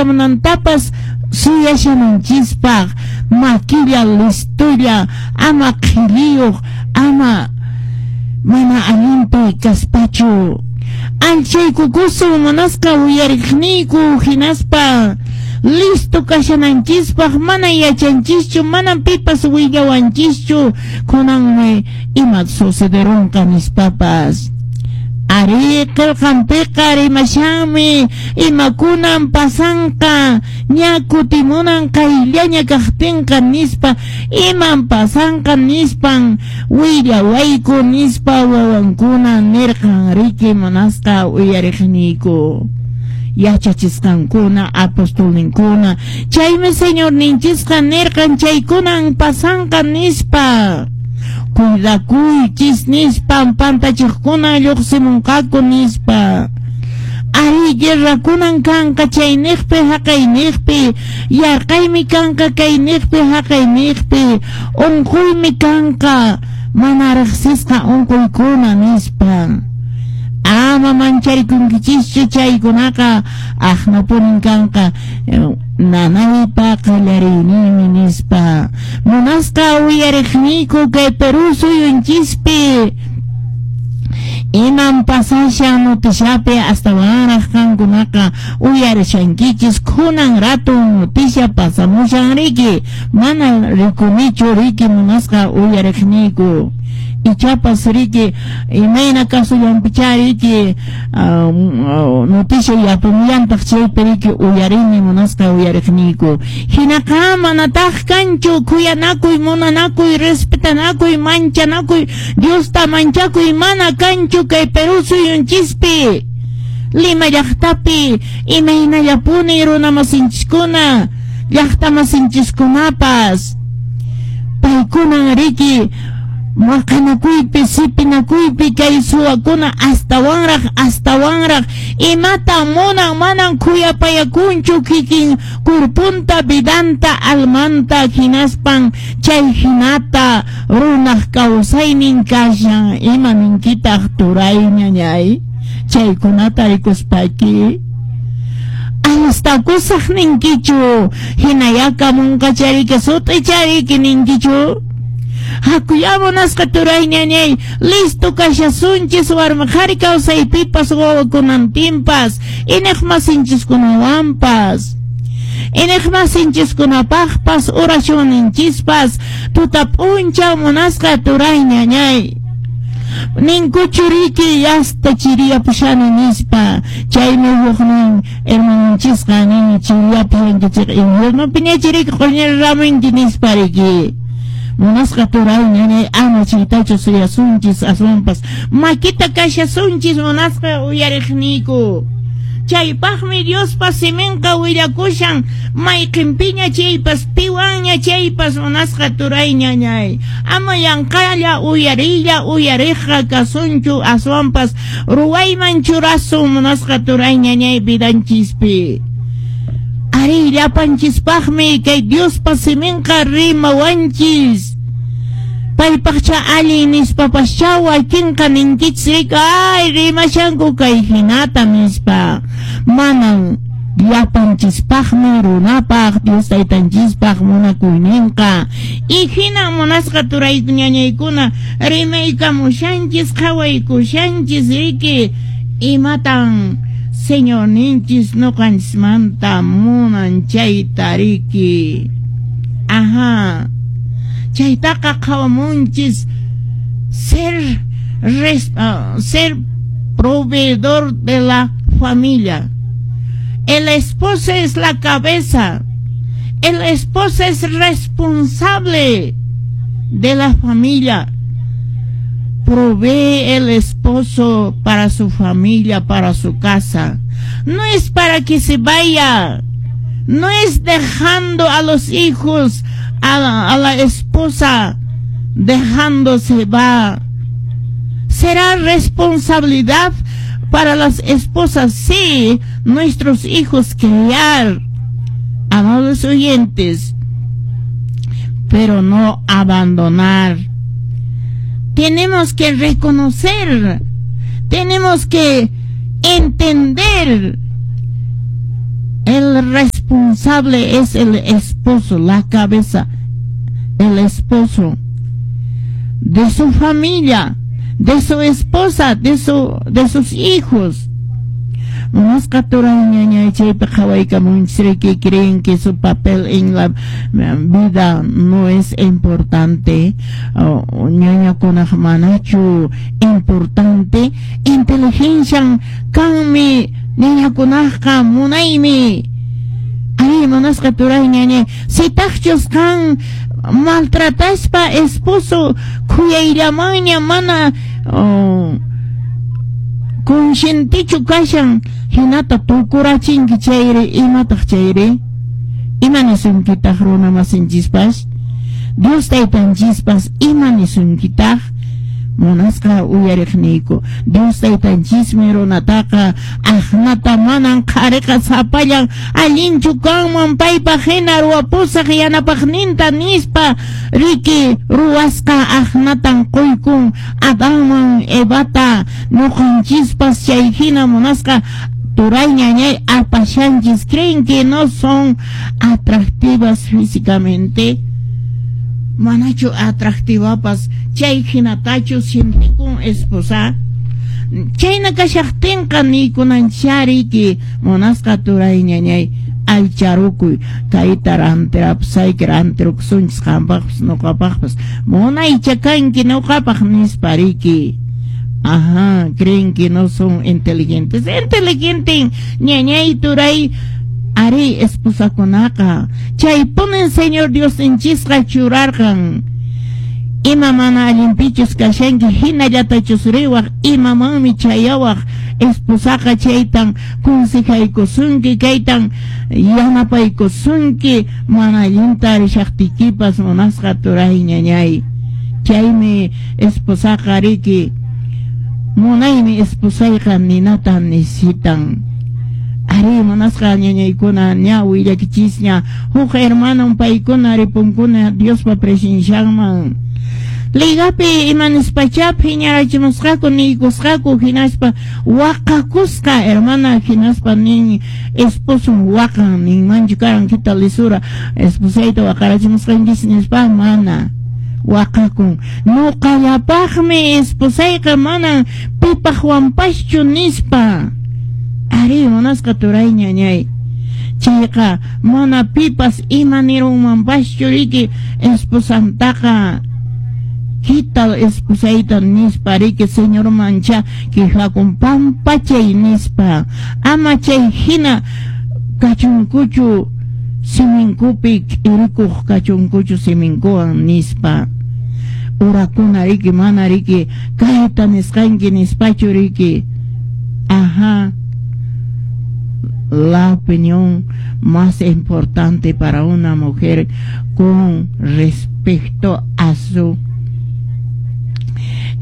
kutikamunantapas suyashananchispaq, makilla, listolla, ama qhilliyuq, ama mana allinpi kaspachu. Alchaykukusun munasqa uyariqniyku, hinaspa listo kashananchispaq. Mana yachanchischu, manan pipas willawanchischu kunanmi ima sucederunqa nispapas. Ari, qillqanpiqa rimashanmi imakunan pasanqa ña kutimunan qayllaña kaqtinqa nispa, iman pasanqa nispan willawayku nispa wawankuna nirqan riki munasqa uyariqniyku, yachachisqankuna, apostolninkuna. Chaymi Señorninchisqa nirqan chaykunan pasanqa nispa. Cuidakuychis nispan, pantachiqkuna lluqsimunqaku nispa. Ari, guerrakunan kanqa chayniqpi haqayniqpi, yarqaymi kanqa kayniqpi haqayniqpi, unquymi kanqa mana riqsisqa unquykuna nispa. Ama mancharikunkichishchu, chaykunaqa aqnapunin kanqa, nanaypa qallariyninmi nispa. Munasqa uyariqniyku, kay Perú suyunchispi iman pasashan noticiapi astawanraq qankunaqa uyarishankichis. Kunan rato noticia pasamushan riki, mana rikunichu riki munasqa uyariqniyku, ichapas riki imayna kasullanpichá riki noticia yapumuyantaq chaypi riki uyarini munasqa uyariqniyku. Hinaqa manataq kanchu khuyanakuy, munanakuy, respetanakuy, manchanakuy, Diosta manchakuy mana kanchu kay Perú suyunchispi. Lima llaqtapi imaynallapuni runamasinchiskuna, llaqtamasinchiskunapas paykunan riki maqanakuypi, sipinakuypi, kay suwakuna astawanraq astawanraq imata munan, manan khuyapayakunchu kikin kurpunta, vidanta, almanta, hinaspan chay hinata runaq kawsaynin kashan. Ima ninkitaq turay ñañay chaykunata rikuspayki? Alistakusaq ninkichu? Hinaya kamunqa chariki sut'i chariki ninkichu? Hakuya munasqa turay ñañay, listo kashasunchis warmi qhari kawsaypipas, wawakunantinpas, iñiqmasinchiskunawanpas, iñiqmasinchiskunapaqpas oracionninchispas tuta p'unchaw munasqa turay ñañay. Ninkuchu riki yasta chiriyapushani nispa? Chaymi huknin hermanonchisqa nin chiriyapushankichik inviernopiña chiriki q'uñiramunki nispa riki. Munasqa turay ñañay, ama chaytachu suyasunchis, aswanpas makita kashasunchis munasqa uyariqniyku. Chaypaqmi Diospa siminqa willakushan mayqinpiña chaypas, piwanña chaypas munasqa turay ñañay. Ama yanqalla uyariylla uyariqqa kasunchu, aswanpas ruwayman churasun munasqa turay ñañay vidanchispi. Ari, llapanchispaqmi kay Diospa siminqa rimawanchis. Paypaqcha allin nispapascha wakinqa ninkichis riki, ay rimashanku kay hinata nispa. Manan, llapanchispaqmi runapaq Dios taytanchispaq munakuyninqa. Y hina munasqa turay ñañaykuna rimaykamushanchis, qhawaykushanchis riki imatan Señorninchis ñuqanchismanta munan chayta riki. Ajá. Chaytaqa qhawamunchis ser proveedor de la familia. El esposo es la cabeza. El esposo es responsable de la familia. Provee el esposo para su familia, para su casa. No es para que se vaya. No es dejando a los hijos, a la esposa, dejándose va. Será responsabilidad para las esposas, sí, nuestros hijos criar, amados oyentes, pero no abandonar. Tenemos que reconocer, tenemos que entender el respeto. Responsable es el esposo, la cabeza, el esposo de su familia, de su esposa, de sus hijos. Munasqa turay ñañay, chaypi qhawaykamunchis, creen que su papel en la vida no es importante. Ñañakunaq manachu importante? Inteligencia kanmi ñañakunaqqa, munaymi. Ay, munasqa turay ñañay, sitaqchus qan maltrataspa esposo khuyayllamanña mana conscientechu kashan, hinata tukurachinki chayri, imataq chayri? Ima nisunkitaq runa masinchispas? Dios taytanchispas ima nisunkitaq? Munasqa uyariqniyku, Dios taytanchismi runataqa aqnata manan qhariqa sapallan allinchu kanman, paypaq hina ruwapusaq yanapaqninta nispa, riki, ruwasqa aqnatan quykun Adanman Evata. Ñuqanchispas chay hina, munasqa turay ñañay, apashanchis. Creen que no son atractivas físicamente? Manachu atractivapas? Chay hinatachu sientikun esposa? Chayna kashaqtinqa niykunanchari, munasqa turay ñañay, allcharukuy, kayta rantirapusayki, rantirukusunchis qampaqpas ñuqapaqpas, munaycha kanki ñuqapaq nispa, riki. Ajá, creen que no son inteligentes. Inteligente, ñañay, turay, ari esposakunaqa. Chaypunin Señor Diosninchisqa churarqan. Ima mana allinpichus kashanki, hinallatachus riwaq, imamanmi chayawaq, esposaqa chaytan consejaykusunki, kaytan yanapaykusunki mana allinta rishaqtiykipas, munasqa turay ñañay. Chaymi esposaqa riki munaymi esposayqa ninata necesitan. Ari, munasqa ñañaykuna, ña willakichisña, huk hermanon paykuna ripunkuna Diospa presencianman. Ligapi ima nispacha phiñarachimusqaku, niykusqaku, hinaspa waqakusqa hermana, hinaspa nin esposon waqan, ninmanchu karan kita lisura esposayta waqarachimusqanchis nispa? Mana, waqakun, ñuqallapaqmi esposayqa, manan pipaqwanpaschu nispa. Ari, munasqa turay ñañay, chayqa mana pipas ima nirunmanpaschu riki esposantaqa, kita esposayta nispa, riki, Señormancha quejakun, pampachay nispa. Ama chay hina kachunkuchu, siminkupi k'irikuq kachunkuchu siminkuwan nispa. Urakuna riki, mana riki kayta nisqanki nispachu riki. Ajá, la opinión más importante para una mujer con respecto a su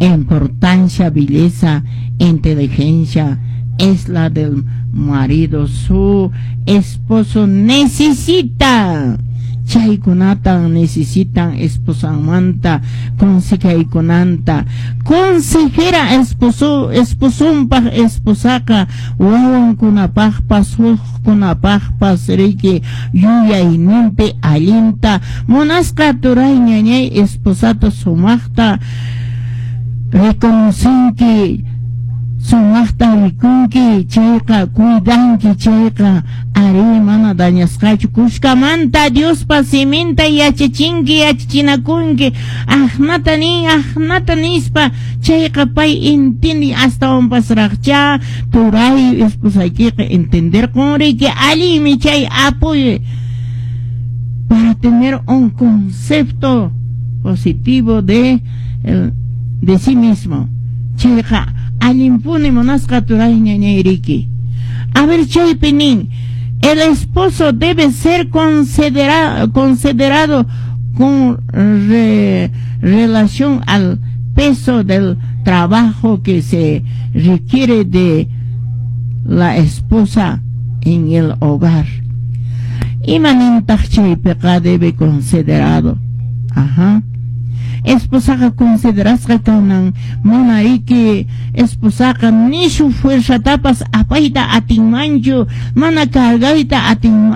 importancia, belleza, inteligencia, es la del marido. Su esposo necesita chaykunatan, necesitan esposanmanta consejaykunanta. Consejera esposo esposonpaq esposaqa, wawankunapaqpas hukkunapaqpas riki yuyayninpi allinta. Munasqa turay ñañay, esposata sumaqta reconocinki, sumaqta rikunki chayqa, cuidanki chayqa, ari, mana dañasqachu. Kushkamanta Diospa siminta yachachinki, yachachinakunki, aqnata nin, aqnata nispa, chayqa pay intindi astawanpasraqcha turay esposaykiqa entenderqun riki. Allinmi chay apoyo para tener un concepto positivo de sí mismo. Chayqa allinpuni, munasqa turay ñañay riki. A ver, chaypi nin, el esposo debe ser considerado con relación al peso del trabajo que se requiere de la esposa en el hogar. Ima nintaq chaypiqa debe considerado? Ajá. Esposaqa considerasqa kanan, mana riki esposaqa nishu fuerzatapas apayta atinmanchu, mana cargayta atinmanchu.